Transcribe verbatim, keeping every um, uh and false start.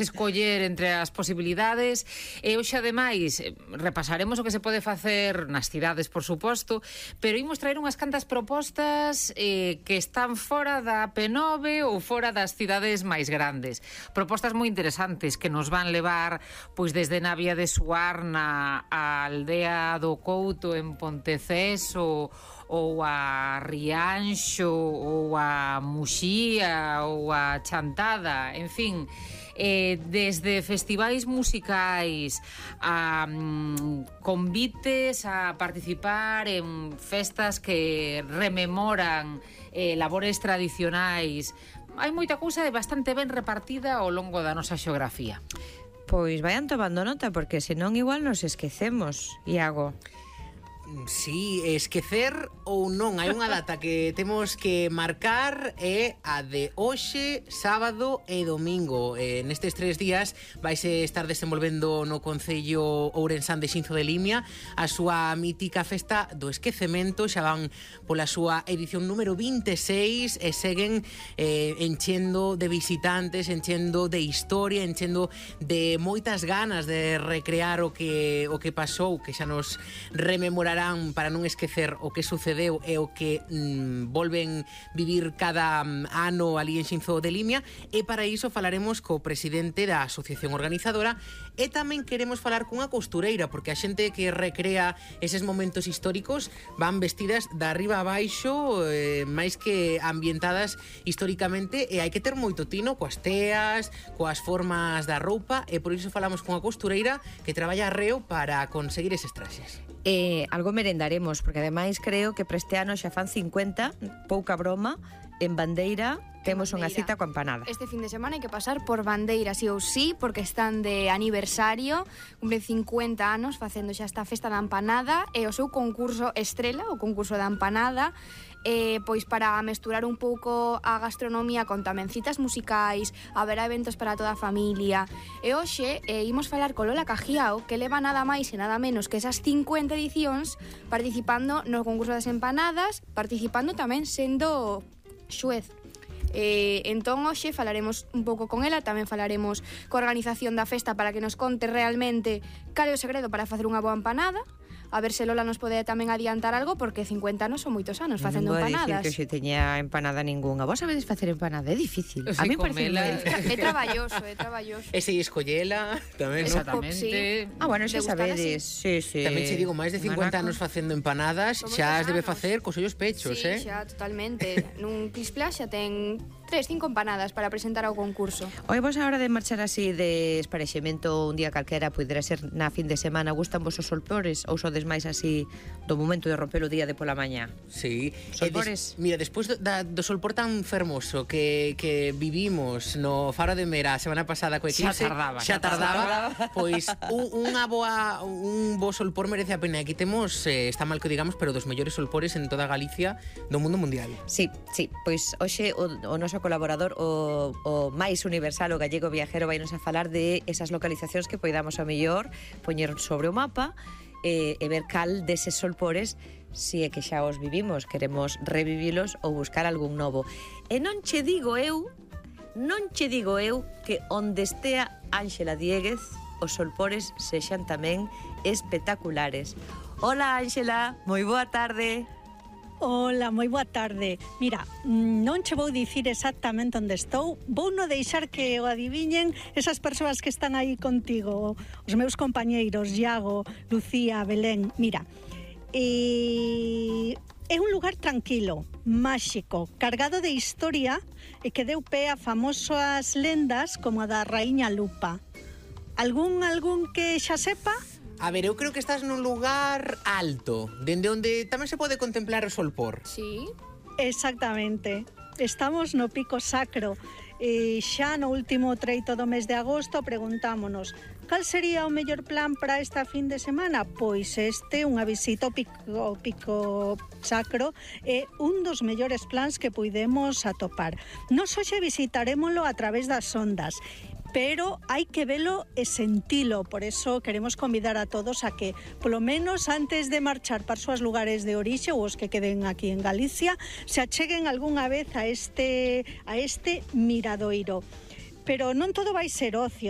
escoller entre as posibilidades e hoxe ademais repasaremos o que se pode facer nas cidades, por suposto, pero imos traer unhas cantas propostas eh, que están fora da P nove ou fora das cidades máis grandes. Propostas moi interesantes que nos van levar pois desde Navia de Suarna a Aldea do Couto en Ponteceso ou a Rianxo ou a Muxía ou a Chantada, en fin, eh, desde festivais musicais a um, convites a participar en festas que rememoran eh, labores tradicionais. Hai moita cousa de bastante ben repartida ao longo da nosa xeografía. Pois vayan tomando nota, porque senón igual nos esquecemos, Iago. Sí, esquecer ou non, hai unha data que temos que marcar, é a de hoxe, sábado e domingo. Eh, nestes tres días vaise estar desenvolvendo no Concello Ourensán de Xinzo de Limia a súa mítica festa do esquecemento. Xa van pola súa edición número vinte e seis e seguen eh, enchendo de visitantes, enchendo de historia, enchendo de moitas ganas de recrear o que, o que pasou, que xa nos rememorará para non esquecer o que sucedeu e o que mm, volven vivir cada mm, ano ali en Xinzo de Limia, e para iso falaremos co presidente da asociación organizadora e tamén queremos falar cunha costureira, porque a xente que recrea eses momentos históricos van vestidas de arriba a baixo, eh, máis que ambientadas históricamente, e hai que ter moito tino coas teas, coas formas da roupa, e por iso falamos cunha costureira que traballa arreo para conseguir eses traxes. Eh, algo merendaremos, porque ademais creo que para este ano xa fan cincuenta, pouca broma, en Bandeira temos unha cita coa empanada. Este fin de semana hai que pasar por Bandeira, sí ou sí, porque están de aniversario, cumplen cincuenta anos facendo xa esta festa da empanada, e o seu concurso estrela, o concurso da empanada, eh, pois para mesturar un pouco a gastronomía con tamén citas musicais, haberá eventos para toda a familia. E hoxe eh, imos falar con Lola Cajiao, que leva nada máis e nada menos que esas cincuenta edicións participando no concurso das empanadas, participando tamén sendo xuez. Eh, entón hoxe falaremos un pouco con ela, tamén falaremos coa organización da festa para que nos conte realmente cal é o segredo para facer unha boa empanada. A ver se Lola nos pode tamén adiantar algo, porque cincuenta anos son moitos anos facendo non empanadas. Non vou dicir que xe teña empanada ningunha. Vos sabedes facer empanada? É difícil. Sí, a mí parece comela. moi... É traballoso, é traballoso. E se escollela tamén, non? Exactamente. Sí. Ah, bueno, xa De gustar sabedes. Sí, sí. Tamén se digo, máis de cincuenta Manaco. anos facendo empanadas, Son xa moitos as debe anos. facer cos ollos pechos, Sí, eh? xa, totalmente. Nun Quisplá xa ten tres, cinco empanadas para presentar ao concurso. Oi, vos a hora de marchar así de esparexemento un día calquera, poidera ser na fin de semana, gustan vos os solpores ou sodes máis así do momento de romper o día de pola mañá? Sí. Solpores? E des, mira, despois do, da, do solpor tan fermoso que, que vivimos no Faro de Mera a semana pasada co eclipse, Xa tardaba, xa xa tardaba, tardaba. pois un, unha boa un bo solpor merece a pena. Aquí temos, eh, está mal que o digamos, pero dos mellores solpores en toda Galicia do mundo mundial. Sí, sí, pois hoxe o, o noso colaborador, o, o máis universal, o gallego viajero, vai nos a falar de esas localizacións que poidamos a mellor poñer sobre o mapa e, e ver cal deses solpores, si é que xa os vivimos, queremos revivilos ou buscar algún novo. E non che digo eu, non che digo eu que onde estea Ánxela Dieguez, os solpores sexan tamén espectaculares. Hola Ánxela, moi boa tarde. Ola, moi boa tarde. Mira, non che vou dicir exactamente onde estou, vou no deixar que o adiviñen esas persoas que están aí contigo, os meus compañeiros, Iago, Lucía, Belén. Mira, e... é un lugar tranquilo, máxico, cargado de historia e que deu pé a famosas lendas como a da Raíña Lupa. Algún, algún que xa sepa? A ver, eu creo que estás nun lugar alto, dende onde tamén se pode contemplar o solpor. Sí. Exactamente. Estamos no Pico Sacro. E xa no último treito do mes de agosto preguntámonos cal sería o mellor plan para esta fin de semana? Pois este, unha visita ao Pico, ao Pico Sacro, é un dos mellores plans que puidemos atopar. Nos hoxe visitarémolo a través das ondas, pero hai que velo e sentilo. Por eso queremos convidar a todos a que, polo menos antes de marchar para os seus lugares de orixe ou os que queden aquí en Galicia, se acheguen algunha vez a este, a este miradoiro. Pero non todo vai ser ocio,